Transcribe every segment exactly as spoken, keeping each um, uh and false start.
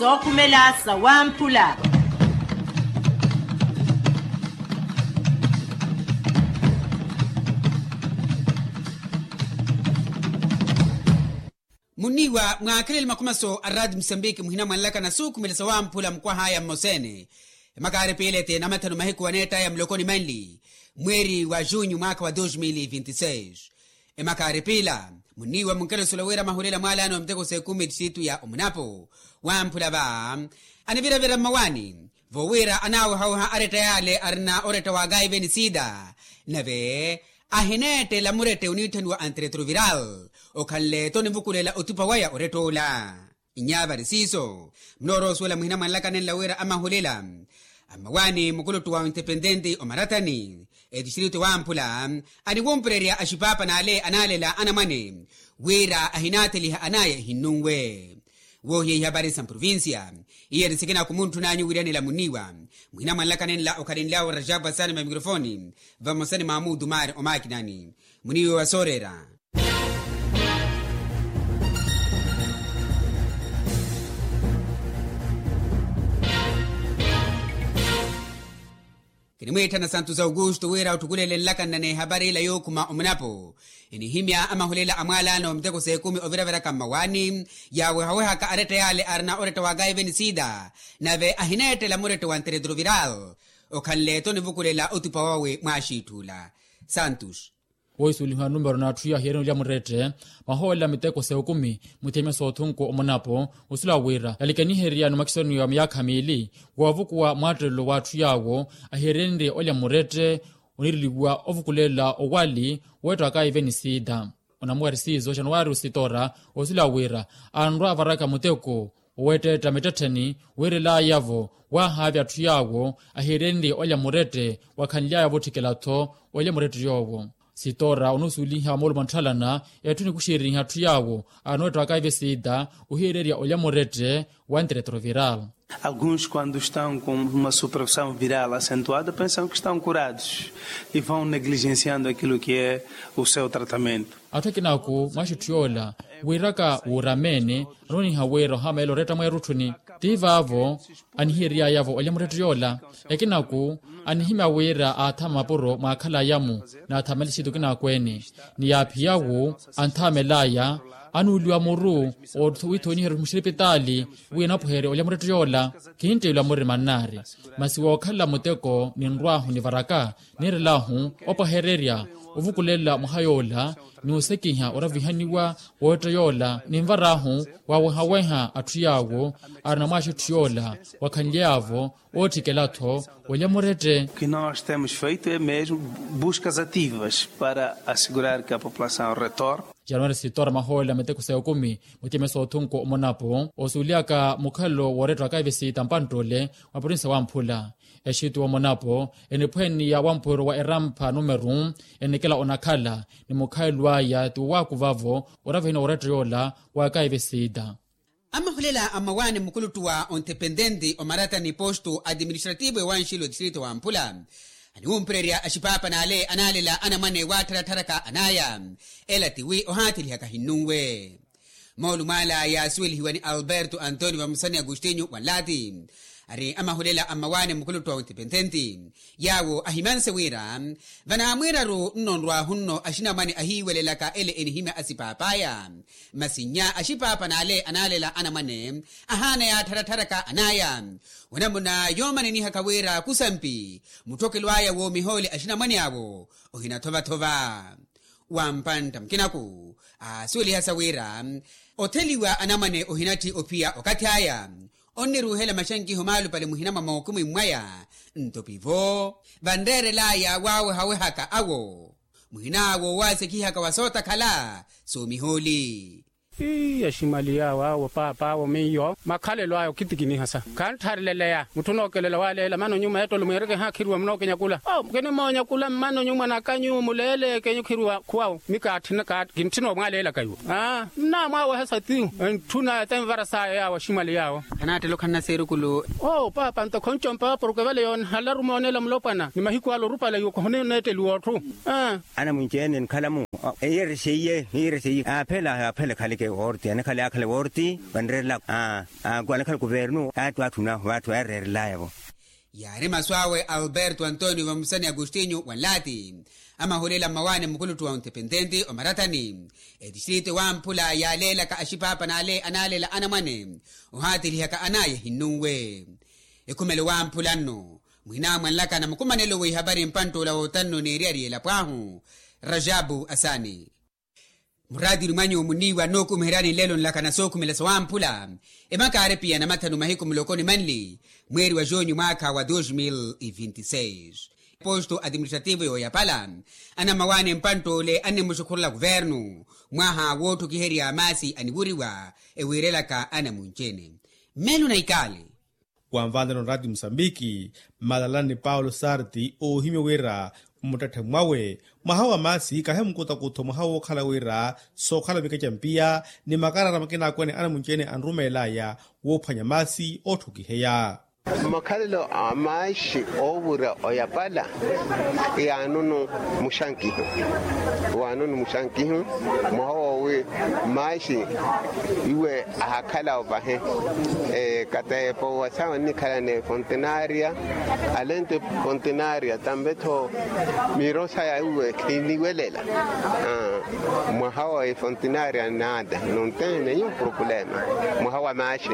Sookhumela sawamphula. Muniiwa mwaakhelele makhumaso a rati musambiki muhina mwanlakana suukhumela sawamphula mukwah'aya mmosa-ene. Emakaari piilete namathanu mahiku waneett'aya mulokoni manli mweeri wa junyu mwaakha wa dos mil vinti seis. Emakaari piila muniiwa munkeresula wira amahulela mwaalaano wa miteko s'ekumi etixitu ya omunapo wamphula va aniviravira mmawaani. Vo wira anaawehaweha aretta yaale arina oretta wa kaiveni sida nave ahineettela murette oniitthaniwa antiretroviral okhanle-tho onivukulela otupa waya oretta ola. Inyavari siiso munoorowa osuwela muhina mwanlakanenla wira amahulela ammawaani mukuluttu wa ontepententi omaratani etistritu wamphula aniwumpererya axipaapa n'ale anaalela anamwane wira ahinaatheliha anaya ehinnunwe. Woohiya ihapari sa mprovincia iye eri sikina kumuntthun'anyu wiriyanela muniiwa muhina mwanlakanenla okhalenly'awe rajabu asani mamikrofoni vamosa ni mamudu mari omakinani muniiwa wa sooreera. Kinimwiitthana santu sa aukustu wira otthukulele nlakanna n'ehapari ila yookhuma omunapo enihimya amahulela a mwaalaano wa miteko s'ekumi oviraviraka mmawaani yaawehawehaka aretta yaale arina oretta wa kaiveni sida nave ahineettela murette wa nteretroviral okhanle-tho onivukulela otupa wawe mwaaxiitth'ula. Santus. Woohisuwelihiwa numero n'atthu yaahiyeereni olya murette mahoolela miteko s'ekumi mutheme s'othunku omunapo osula wira yalikeniherya ni makisoni wa miyaakha miili woovukuwa mwaattelelo w'atthu yaawo ahiyeerenrye olya murette oniriliwa ovukulela owali weetta wa kaiveni sida. Onamuwari siizo januwari ositora osula wira anrwa avaraka muteko oweetteetta mittettheni wiirel'aya-vo waahaavya atthu yaawo ahiyeerenrye olya murette wakhanly'aya vootthikela-tho olya murette yoowo. Sitora onusuweliha moolumo ntthalana etthu enikuxereriha atthu yaawo anoweetta wa kaiveni sida ohiyeererya olya murette wa nteretroviral. Alguns quando estão com uma supressão viral acentuada pensam que estão curados e vão negligenciando aquilo que é o seu tratamento. Atthu akinaku mwaxi etthu yoola wiiraka wuurameene anooniha wira ohameela oretta mweerutthuni ti vaavo anihiyery'aya-vo olya murette yoola. Ekinaku anihimya wira aathama mapuro mwaakhal'aya-mu n'athamela xiitu kinaaku-ene ni yaaphiya-wu anthamel'aya anuuliwa muru owiithoniherya muxiripitaali wi anapweherye olya murette yoola. Kintteeliwa murima nnaari masi wookhalela muteko ninrw'ahu nivaraka niirel'ahu opwehererya ovukulela mwaha yoola ni osekiha oravihaniwa wootta yoola ninvar'ahu waawehaweha atthu yaawo arina mwaaxi etthu yoola wakhanly'aya-vo ootthikela-tho olya murette. Que nós temos feito é mesmo buscas ativas para assegurar que a população retorne. Januwari sitora mahoolela miteko s'ekumi mutheme s'othunku omonapo osuwelihaka mukhalelo w'oretta wa kaiveni sida mpanttuule wa provincia wamphula. Exitu omonapo eniphweniya wamphwiro wa erampha numeru enikela onakhala ni mukhalelo aya ti wowaakuva-vo oravihaniwa oretta yoola wa kaiveni sida. Amahulela a mmawaani mukuluttu wa ontepententi omaratani postu administrativo ewanxilo distrito wamphula aniwumpererya axipaapa n'ale anaalela anamwane waattharattharaka an'aya ela ti wi ohaatheliha kahinnunwe. Moolumo ala yaasuwelihiwa ni alberto antonio vamosa ni agostinho wanlaati ari amahulela a mmawaani mukuluttu wa ontepententi yaawo ahimanse wira vanaamwiiraru nno nrw'ahu nno axinamwane ahiiwelelaka ele enihimya asipaap'aya. Masi nnya axipaapa n'ale anaalela anamwane ahaana yaattharatharaka an'aya onamuna yoomanenihaka wira kusampi mutthokelo aya woomihoole axinamwane awo ohinathovathova. Wampantta mukinaku aasuwelihasa wira otheliwa anamwane ohinatthi ophiya okathi aya onniruuhela maxankiho maalupale muhina mwa mookhumi mwaya. Nto pivo vanreerel'aya waawehawehaka awo muhin'awo waasekihaka wa sootakhala soomihooli. Ii aximali yaawo awo paapa awo miyo makhalelo aya okitikinihasa khanttharileleya mutthu onookelela waaleela mana onyuma ettolo mweereke haakhiriwa munookenyakula. Kinimoonya kula mmana onyuma nakanyu muleeleke nyukhiriwa khuwawu mi kaatthina kintthina omwaaleelaka iwo. Aa nnaamwaawehasa ti entthuna etenvara saya yaawo aximali yaawo. Khanaattela okhanna seerukulu. Oo paapa nto khonco mpawa porke vale yoonhala rumoonela mulopwana ni mahiku ale orupale iwo khoneetteliwa otthu. Anamwinci ene enkhala-mu eyere seiye eyere seiye aaphela aaphela ekhaleke. Woorti anakhala yaakhala woorti vanreerela, anakhala kuvernu ati waatthuna vaatthi yareerelaya-vo. Yaari masu awe alberto antonio vamusani agostinho wanlaati amahulela mmawaani mukuluttu wa ontepententi omarathani etistrito wamphula yaaleelaka axipaapa n'ale anaalela anamwane ohaatilihaka anaya ehinnunwe. Ekhumelo wamphula nno mwinamwanlaka na mukumanelo w'ihapari mpantt'ula wootanno n'eriyari elapo ahu rajabu asani. Muraatini mwanyu munniiwa nookumiheryani nlelo nlaka na sookhumela sawamphula emakaari piya na mathanu mahiku muloko ni manli mweeri wa junyu mwaakha wa dos mil e vinti seis. Posto administrativo yooyapala anammawaani mpantt'ule annimuxukhurela kuvernu mwaha wootthukiherya maasi aniwuriwa ewiirelaka anamunci-ene. Mmelo na ikaali. Wanvaanela onraati musambiki mmalalani paulo sarti oohimya wira mmuttetthe mwawe mwaha wa maasi kahi mukutakutho mwaha wookhala wira sookhala mikeca mpiya ni makarara makinakwene anamunci-ene anrumeelaya woophwanya maasi ootthukiheya. Makhalelo a maaxi oowura oyapala yaanunu muxankihu waanunu muxankihu mwaha woowi maaxi iwe ahakhala opahe. Kateepo wa sawa nnikhala ni efontenaria alento efontenaria tambe-tho miiro saya iwe khiniwelela mwaha wa efontenaria nada nontene yo problema mwaha wa maaxi.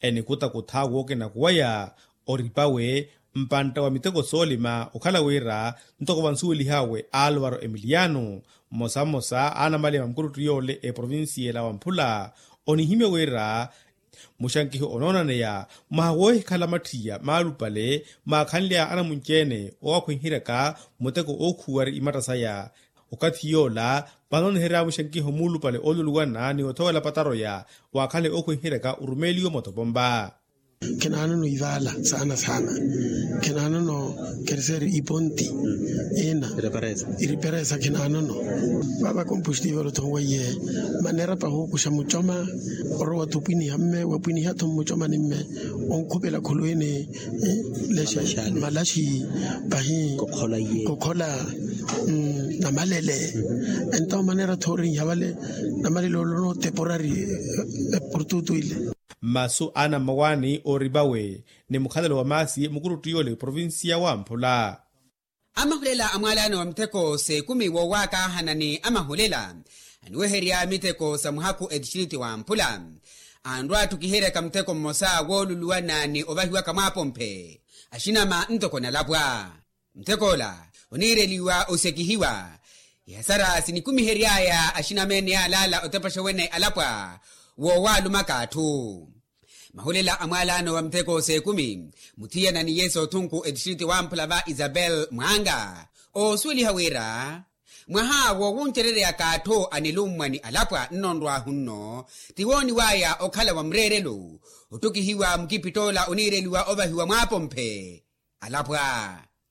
Enikutakutha wookenakuwaya oripawe mpantta wa miteko soolima okhala wira ntoko vansuwelihawe alvaro emiliano mmosa mmosa a anamaliya va mukuruttu yoole eprovincia ela wamphula onihimya wira muxankiho onoonaneya mwaha woohikhala matthiya maalupale maakhanly'aya anamunci-ene oowakhwenheryaka muteko ookhuwari imatta saya. Okathi yoola vanooniherya muxankiho muulupale ooluluwana ni othowela pataroya waakhanle ookhwenheryaka orumeeliwe motopompa. Khinaanono ivaala saana saana khinaanono kerseeri iponti ina iriperesa khinaanono. Vaava kompustivo orothonweiye maneera pahuukuxa mucoma orowa-tho opwiniha mme wapwiniha-tho mmucomani mme onkhupela khuluwini. Lexe malaxi pahi kokhola namalele. Ento maneera-tho orinha vale namalele olono temporari portutu ile. Masu a anammawaani ooripawe ni mukhalelo wa maasi mukuruttu yoole provincia wamphula. Amahulela a mwaalaano wa mitheko s'ekumi woowaakaahana ni amahulela aniweherya mitheko sa muhakhu etistriti wamphula anrwa atthukiheryaka mutheko mmosa wooluluwana ni ovahiwaka mwaapomphe axinama ntoko nalapwa. Muteko ola oniireliwa osekihiwa ihasara sinikumihery'aya axinama ene yaalaala otepaxa wene alapwa woowaalumaka atthu. Mahulela a mwaalaano wa muteko s'ekumi muthiyana ni yesu othunku etistriti wamphula va isabel mwanga oosuweliha wira mwaha woowuncereryaka atthu anilummwa ni alapwa nnonrwahu nno tiwooniw'aya okhala wa mureerelo ottukihiwa mukipitt'ola oniireliwa ovahiwa mwaapomphe. Alapwa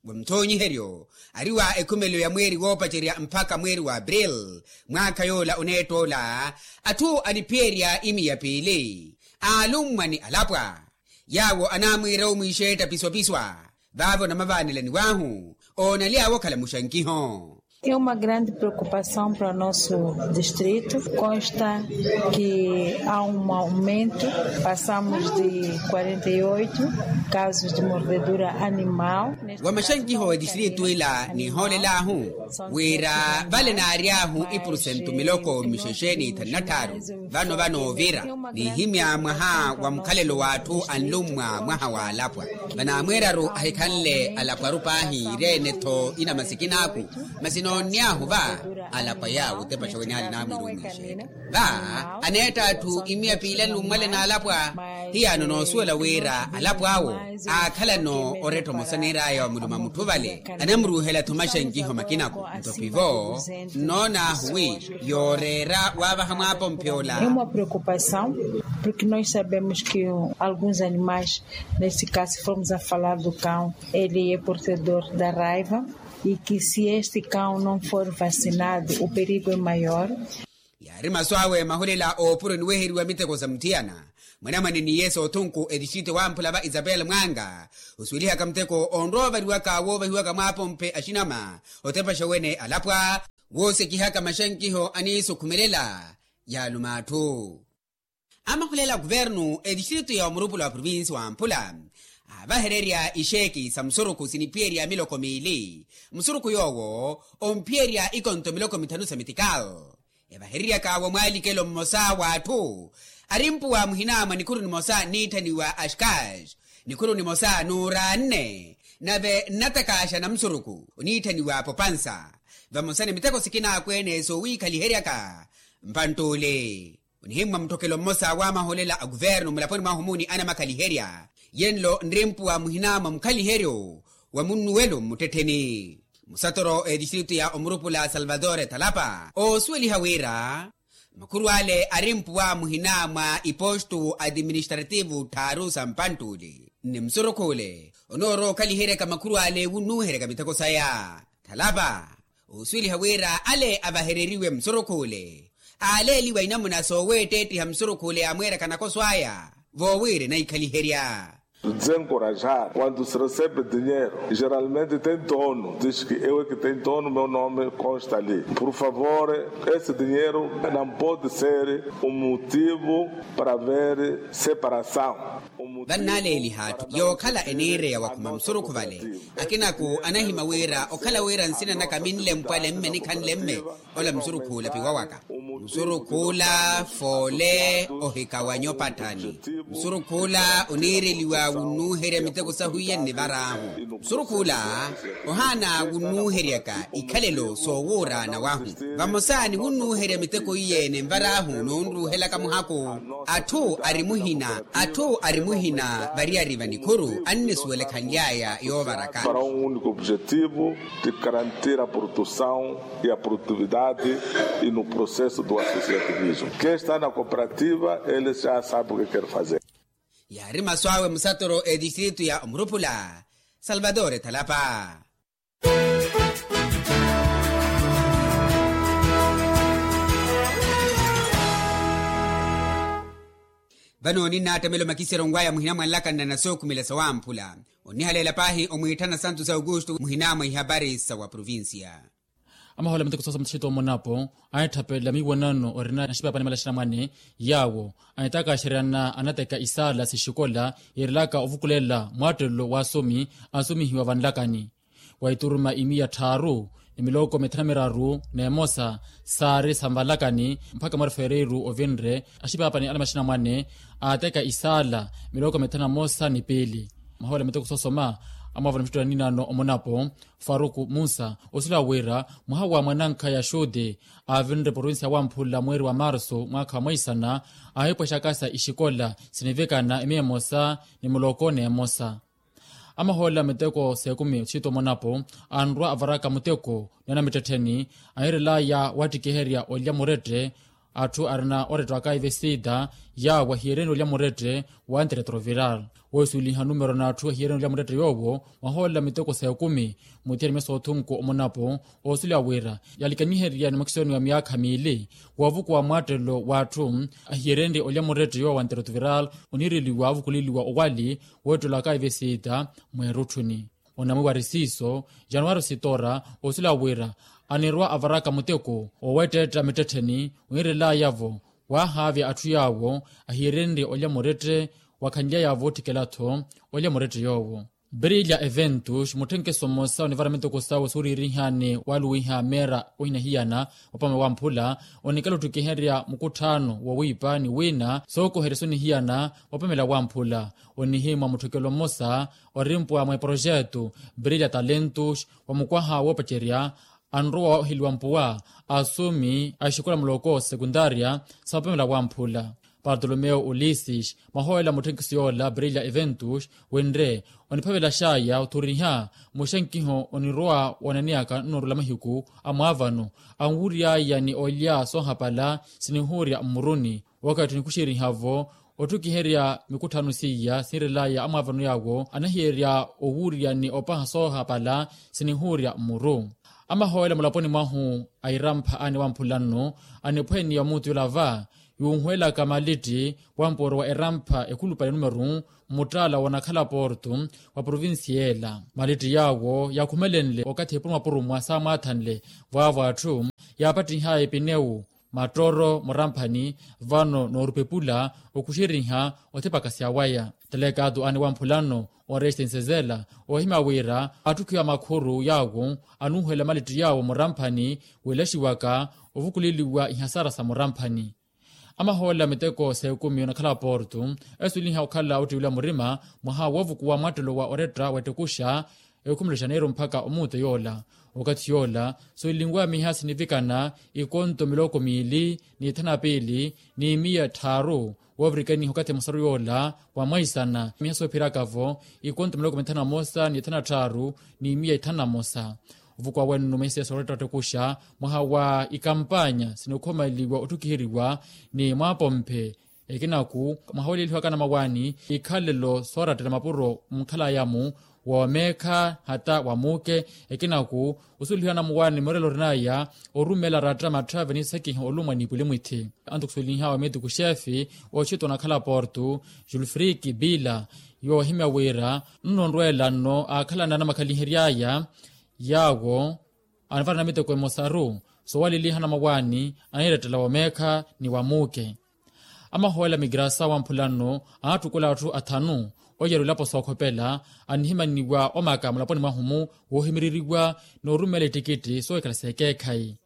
wa muthoonyiheryo ari wa ekhumelo ya mweeri woopacerya mpakha mweeri wa april mwaakha yoola oneett'ola atthu aniphiyerya imiya piili aalummwa ni alapwa yaawo anaamwiira omwiixetta piswapiswa vaavo namavaanelaniw'ahu oonaly'awe okhala muxankiho. Ema grande preocupação para nosso distrito consta que há um aumento, passamos de quarenta e oito casos de mordedura animal. Wa maxankiho wa etistrito ila nihoolel'ahu wira vale naary'ahu ipurusentu miloko mixexe ni ithanu na tthaaru vano vanoovira nihimya mwaha wa mukhalelo w'atthu anlummwa mwaha w'alapwa. Vanaamweeraru ahikhanle alapwaru paahi ireene-tho inamasikin'aku masi noonny'ahu va alapwa yaawo otepaxa wene aali naamwiira omwiixeetta va aneetta atthu imiya piili anlummwale n'alapwa. Hiyaano noosuwela wira alapw'awo aakhalano oretta omosa niir'aya wa muluma mutthu vale anamuruuhela-tho maxankiho makinaku nto pivo nnoon'ahu wi yooreera waavaha mwaapomphe ola. Uma preocupação porque nós sabemos que alguns animais neste caso fomos a falar do cão ele é portador da raiva e que se este cão não for vacinado o perigo é maior. Yaari masu awe mahulela oopuro niweheriwa miteko sa muthiyana mwanamwane ni yesu othunku etistrito wamphula va isabel mwanga osuwelihaka muteko onroovariwaka woovahiwaka mwaapomphe axinama otepaxa wene alapwa woosekihaka maxankiho aniisukhumelela Yaaluma atthu. Amahulela a kuvernu etistritu ya omurupula wa provinsi wa mpula avahererya ixeeki sa musurukhu siniphiyerya miloko miili. Musurukhu yoowo omphiyerya ikonto miloko mithanu sa mitikal. Evahereryaka wamwalikelo mmosa w'atthu arimpuwa muhina mwa nikhuru nimosa nniitthaniwa axkax, nikhuru nimosa nuura nne, nave nnatakaaxa na musurukhu oniitthaniwa popansa. Vamosa ni miteko sikina akweene soowiikhaliheryaka mpanttuule. Onihimmwa mutthokelo mmosa w'amaholela a kuvernu mulaponi mwahu muuni anamakhaliherya yenlo nrimpuwa muhina mwa mukhaliheryo wa munnuwelo mmuttettheni. Musatoro etistritu ya omurupula salvador talapa oosuweliha wira makhuru ale arimpuwa muhina mwa ipostu atiministrativu tthaaru sa mpanttuule ni musurukhu ole onoorowa okhaliheryaka makhuru ale wunnuuheryaka miteko saya. Thalapa oosuweliha wira ale avahereriwe musurukhu ole aaleeliwa inamuna sooweetteettiha musurukhu ole amweeraka nakoso aya voowiira enaikhaliherya. Desencorajar quando se recebe dinheiro geralmente tem dono diz que eu é que tem dono meu nome consta ali por favor esse dinheiro não pode ser um motivo para ver separação. Vannaaleeliha atthu yookhala eniireya wakhuma musurukhu vale. Akinaku anahima wira okhala wira nsina naka minlempwale mme nikhanlemme ola musurukhu olapiwa waka. Musurukhu ola foole ohikawanya opatthani. Musurukhu ola oniireliwa wunnuuherya miteko sahu iye nnivar'ahu. Musurukhu ola ohaana wunnuuheryaka ikhalelo soowuuraana wahu. Vamosa ni wunnuuherya miteko iye ninvar'ahu noonruuhelaka muhaku. Atthu ari muhina atthu ari muhina variyari va nikhuru annisuwelekhanly'aya yoovaraka. Para um único objetivo de garantir a produção e a produtividade e no processo do associativismo quem está na cooperativa ele já sabe o que quer fazer. Yaari masu awe musatoro etistritu ya omurupula salvador thalapa. Vano ninnattamela omakiseryo nwaya muhina mwa nlakanna na sookhumela sawamphula. Onnihaleela paahi omwiitthana santu sa aukustu muhina mwa ihapari sa wa provincia. Amahoolo a miteko soosa muthito omonapo anetthapelela miiwanano orina naxipaapani malaxina mwane yaawo anetakaxeryana anateka isaala sixikola yiirelaka ovukulela mwaattelelo w'asomi asomihiwa vanlakani. Wa ituruma imiya tthaaru ni miloko mithanu na miraru n'emosa saari sa nvalakani mpakha mwaari fereiru ovinre axipaapani ale maxina mwane aateka isaala miloko mithanu na mosa ni piili. Mahoolo a miteko soosoma amwaavana mixutto ya niinaano omonapo faruku musa osuleya wira mwaha wa mwanankhaya xuti aavinre provincia ya wamphula mweeri wa marsu mwaakha wa mweisana aahipwexakasa ixikola sinivikana imiya emosa ni muloko n'emosa. Amahoolela miteko s'ekumi othito omonapo anrwa avaraka muteko ni anamittettheni ahiirelaya waattikiherya olya murette atthu arina oretta wa kaivesita yaawo ahiyereeni olya murette wa antiretroviral woosuweliha numero n'atthu ahiyereeni olya murette yoowo mwahoolela miteko s'ekumi muthiyanimya soothunku omonapo oosuleya wira yalikaniherya ni makisoni wa myaakha miili woovukuwa mwaattelo w'atthu ahiyerenrye olya murette yoowo wa nterotuviral oniireliwa avukuleliwa owali weettelo akaivesita mweerutthuni. Onamwi wari siiso januwari sitora oosila wira anirwa avaraka muteko oweettetta mittettheni oniirelaya-vo waahaavya atthu yaawo ahiyerenrye olya murette wakhanlyaya-vo otthikela-tho olya murette yoowo. Brilha eventos mutthenkeso mmosa onivara miteko sawe sooriirihani waluwiha meera ohina hiyana wapame wamphula onikala ottikiherya mukutthaano wowiipa ni wiina sookoherya soni hiyana wapamela wamphula onihimwa mutthokelo mmosa orimpuwa mwa eprojeto brilha talentos wa mukwaha woopacerya anrowa waheliwa mpuwa asomi a exikola muloko sekuntaria sa mapamela wamphula. Bartolomeo ulisses mwahoolela mutthenkiso yoola brilha eventos winre oniphavelaxaya othuriha muxenkiho onirowa woonaneyaka nnoorula mahiku a mwaavano anwuuryaya ni olya soohapala sinihuurya mmuruni. Wakathi onikuxeriha-vo otthukiherya mikutthano seiya sinirelaya amwaavano yaawo anahiyerya owuurya ni opaha soohapala sinihuurya mmuru. Amahoolela mulaponi mwahu a irampha aani wamphula nno aniphweniwa muutu yola va yuuhweelaka malitti wampooro wa erampha ekhulupale numeru mmuttaala wonakhala porto wa provincia ela malitti yaawo yaakhumelenle okathi epurumwapurumwa saamwaathanle vwaavo atthu yaapattihaya epinewu mattooro muramphani vano noorupepula okuxeriha othipakasya waya. Talekaatu aani wamphulano orestense zela ohimya wira atthukhiwa makhuru yaawo anuuhela malitti yaawo muramphani welaxiwaka ovukuleliwa ihasara sa muramphani. Amahoolela miteko s'ekumi onakhala porto esuweliha okhala ottiwela murima mwaha woovukuwa mwattelo wa oretta wettukuxa ekhumilexa neeru mpakha omuuto yoola. Okathi yoola suwelinwamiha sinivikana ikonto miloko miili ni ithanu na piili ni miya tthaaru woovirikaniha okathi emosaru yoola wa mwaisana miha soophiraka-vo ikonto miloko mithanu na mosa ni ithanu na tthaaru ni miya ithanu na mosa. Ovukuwa wennu mweseso oretta ottukuxa mwaha wa ikampanya sinokhomaliwa otthukiheriwa ni mwaapomphe ekinaku mwaha weleelihiwaka anamuwaani ikhalelo soorattela mapuro munkhalaya-mu woomeekha hata wa muuke ekinaku osuwelihiwa anamuwaani murelo orinaya orumela ratta matthave nisakiha olumwa ni pulimwithi. Anto khusuwelihiwa wa meetiku xeefi oxito onakhala porto julfriki bila yoohimya wira nno onrweela nno aakhalana anamakhalihery'aya yaawo anavara namiteko emosaru soowaleliha anamawaani aniirettela wa meekha ni wa muuke. Amahoolela migrasa wamphulano aattukula atthu athanu oyeera elapo sookhopela anihimaniwa omaka mulaponi mwahu-mu woohimireriwa noorumela ettikitti soohikhala s'ekeekhayi.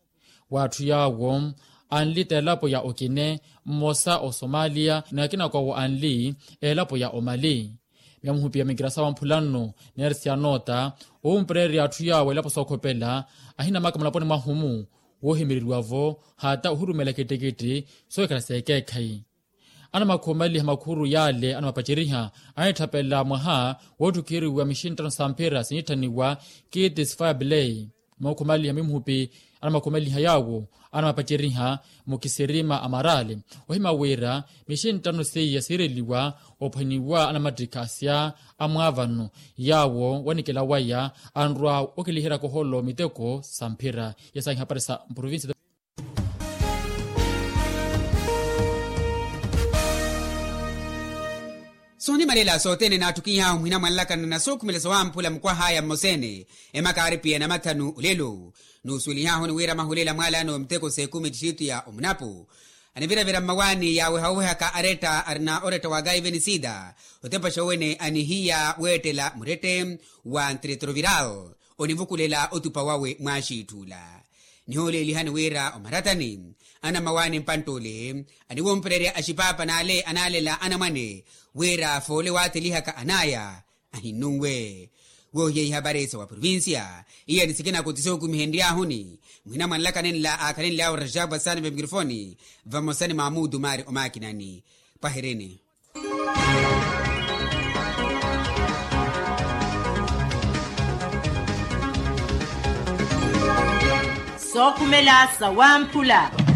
W'atthu yaawo anli t'elapo ya okine mmosa osomaliya ni akinako awo anli elapo ya omali. Miya muhupi ya mikirasa wamphulano neerisiya noota oompererya atthu yaawo elapo sookhopela ahinamaka mulaponi mwahu-mu woohimireriwa-vo hata ohirumelaka ettikitti soohikhala s'ekeekhayi. Anamakhumaliha makhuru yaale anamapaceriha anitthapela mwaha wootthukiheriwa mixinttano sa mphira siniitthaniwa kitis fireplay. Mookhumaliha mimuhupi anamakhumaliha yaawo anamapaceriha mukisirima amarale ohima wira mixinttano seiya siireliwa ophwaniwa anamattikha asya amwaavano yaawo wanikela waya anrwa okeliherya koholo miteko sa mphira. Yasahi hapari sa mprovinsi. Soonimalela sothene naattukihahu muhina mwanlakana na sookhumela sowamphula mukwahaya mmosa-ene emaka aari piya na mathanu olelo. Nuusuwelihahuni wira mahulela mwaalano miteko s'ekumi ttixitu ya omunapu aniviravira mmawaani yaaweha owehaka aretta arina oretta wa gaivenisida otepaxa owene anihiya weettela murette wa ntretoviral onivukulela otupa wawe mwaaxiitthula. Nihoolelihani wira omaratani anamawaani mpantt'ole aniwumpererya axipapa n'ale anaalela anamwane wira foole waathelihaka anaya ahinnunwe. Woohiya ihapari sa wa provincia iya ni sikina kuti sookumihenryahuni muhina mwanlaka nenla aakhalenly'awe rajab asani vemikirofoni vamosa ni mamudu maari omakinani. Pwaherini. Sookhumela sawamphula.